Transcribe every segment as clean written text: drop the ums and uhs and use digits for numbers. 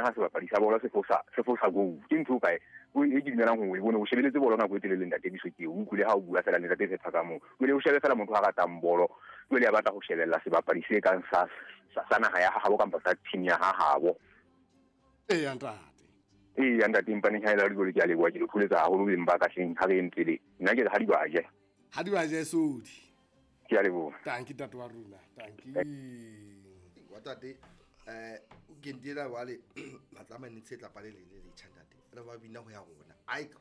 bona ha sebapadi sa bolo se fosa goal. Ke ntho kae o e ke dumelang hore o bone o shebeletse bolo nako e telele ntate Biso ke o utlwile ha o bua fela ntate Phetha ka moo. Jwale o shebe fela motho a ratang bolo, jwale a batla ho shebella sebapadi se kang sa naha ya habo kampa sa team ya habo. Eya ntate. Eya ntate, empaneng ha e le dikolo ke a leboha, ke le tholetsa haholo beng ba ka hleng ha re entele. Nna ke re ha di ba je. Ha di ba je sodi. Ke a leboha. Tanki ntate wa rona, tanki. Wa tate, ke ndela wale matlama ne tsetla pale le le tjha ntate. Re ba bina ho ya rona. Ai ka.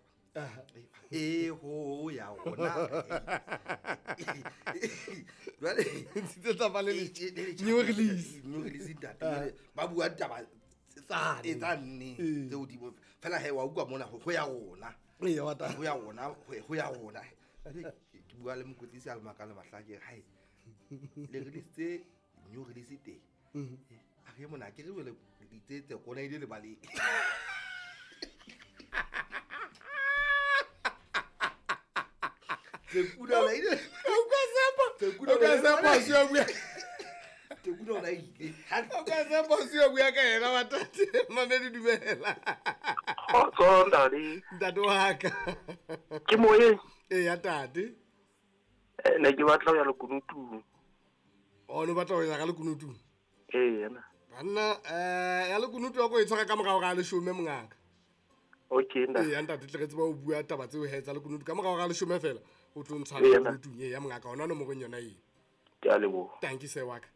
E ho ya rona. Jwale tsetla pale le new release. New release ntate. Ba bua taba tsane tseo di fela he wa utlwa mona ho ya rona. Ee wa ta. Ho ya rona, ho ya rona. Ke bua le mokotlisi a le makala mahlake hai. Le release tse new release teng. A re mona ke re wele ditsetse kona ile le bale. Tsekuna la ile. O ka sepa. O ka sepa se bua. Tsekuna la ile. O ka sepa se bua ka yena wa tate. Mamedi dumela. Khotso ntate. Ntate wa ka. Ke moyeng. Ee ya tate. Ne ke batla ho ya lekunutung. O no batla ho ya ka lekunutung? Ee yena. Banna ya lekunutu ya ko e tshwara ka morao ga leshome mongaka. Okay ntate. Ee ya ntate tle re tseba o bua taba tseo he tsa lekunutu ka morao ga leshome fela o tlo ntshwara lekunutung. Ee ya mongaka ona nomorong yona e. Ke a leboha. Thank you sir wa ka.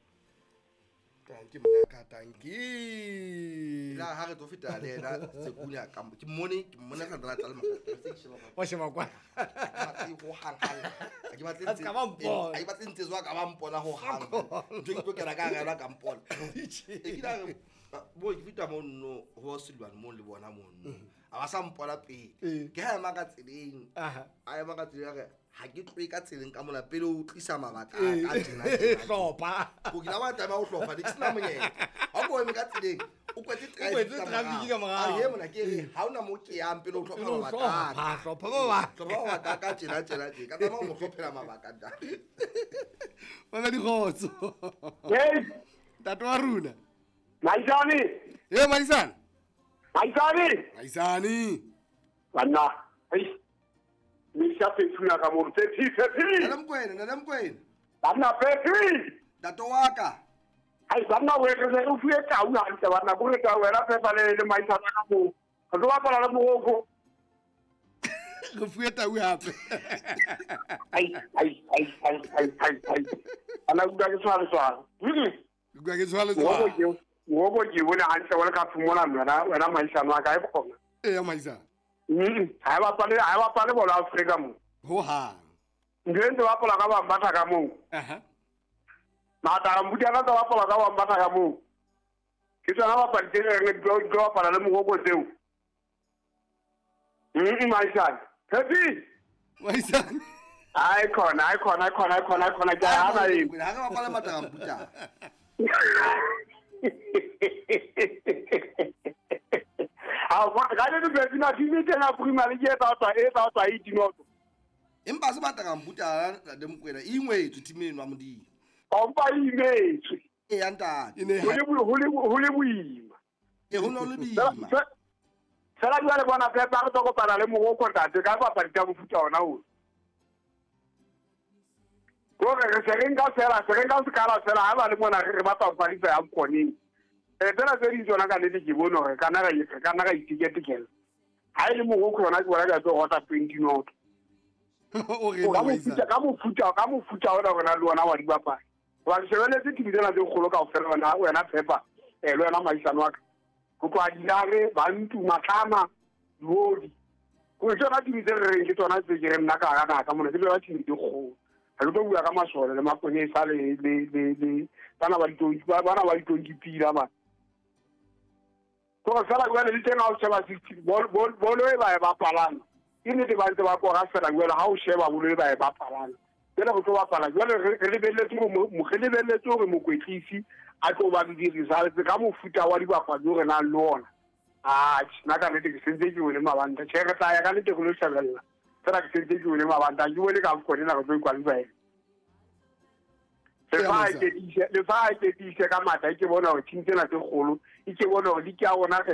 Thank you mongaka, thank you. La ha re tlo feta le yena Sekunya ka ke mmone ka nna tla le mogaka. Wa sheba kwa. Ho hang hang. Ke batle ntse. A batle ntse tswa ka ba mpona ho hang. Ntse ke tlo kena ka gela ka mpona. E ke la bo ke feta mo nno ho Silwane mo le bona mo nno. A ba sa mpona pele. Ke ha ema ka tseleng. A ema ka tseleng re ha ke tloe ka tseleng ka mona pele o tlisa mabaka a tjena. Hlopha. Go ke la ba taba o hlopha di sena monyetla. Ha go eme ka tseleng o kwetse traffic ka morao. A ye mona ke re ha ona mo ke yang pele o hlopha mabaka. Ha hlopha mabaka. Hlopha mabaka ka tjena tjena tje. Ka tsamaya mo hlophela mabaka ntate. Bana dikgotso. Hey, ntate wa rona. Maisane. Ye Maisane. Maisane. Maisane. Banna. Hey. Misha Petuna ka mo Pepi. Nna Mkwena. Banna Pepi. Ntate wa ka. Ai banna we re o fuwe tau hantle banna go re ka wena Pepa le Maisane ka mo. Re tlo bapala le Morocco. Re fuwe tau hape. Ai. Ana utlwa ke tshware. Utlwa ke tshware. Morocco ke bone hantle wa le ka phumona wena Maisane wa ka e khona. Ee Maisane. Ha ba bapale bolo Afrika mo. Ho hang. Ntse ntse bapala ka ba batla ka moo. Aha. Mata mbutana tsa bapala ka ba batla ka moo. Ke tsona bapadi tse reng di tlo bapala le Morocco tseo. Maisane. Happy. Maisane. Ai khona ke hana e. Ha re bapala mata mbutana. A ga le be na di tena primary ke tsa e dinoto. Empa se batla ka mbuta le Mokwena e ingwetswe team eno wa Modimo. Ompa imetswe. E ya ntate. Ho le boima. E ho no le boima. Fela jwale bona Pepa re tlo kopana le Morocco ntate ka papadi tsa mofuta ona o. Gore re se re nka fela se re nka sekala fela ha ba le mona re batla ho fadisa ya mkoneng. Tsena tse ding tsona ka nnete ke bone hore ka nna ra itiketekela. Ha e le Morocco yona ke bona ka tlo rota 20 noto. O re ka mofuta ona rona le ona wa dibapadi. Ba shebeletse team tsena tse kgolo kaofela wena Pepa le wena Maisane wa ka. Go tloha Dinare, Bantu, Matlama, Diodi. Go tsona team tse re reng ke tsona tse ke re nna ka hara naha ka mona ke tsona team tse kgolo. Ha ke tlo bua ka masole le maponesa le bana ba ditonki pila ba. Go fela jwale le teng ha o sheba 16 bolo e ba e bapalang. Ke nnete ba ntse ba kora fela jwale ha o sheba bolo e ba e bapalang. Jwale go tlo bapala jwale re lebelletse hore mokwetlisi a tlo ba le di-results ka mofuta wa dibapadi o re nang le ona. Atjhe, nna ka nnete ke sentse ke bone mabanta. Tjhe, re tla ya ka nnete re lo shebella. Fela ke sentse ke bone mabanta. Ke bone ka AFCON ena re tlo ikwalifya. Le fa a iketise ka matla, e ke bona hore team tsena tse kgolo, e ke bona hore league ya rona re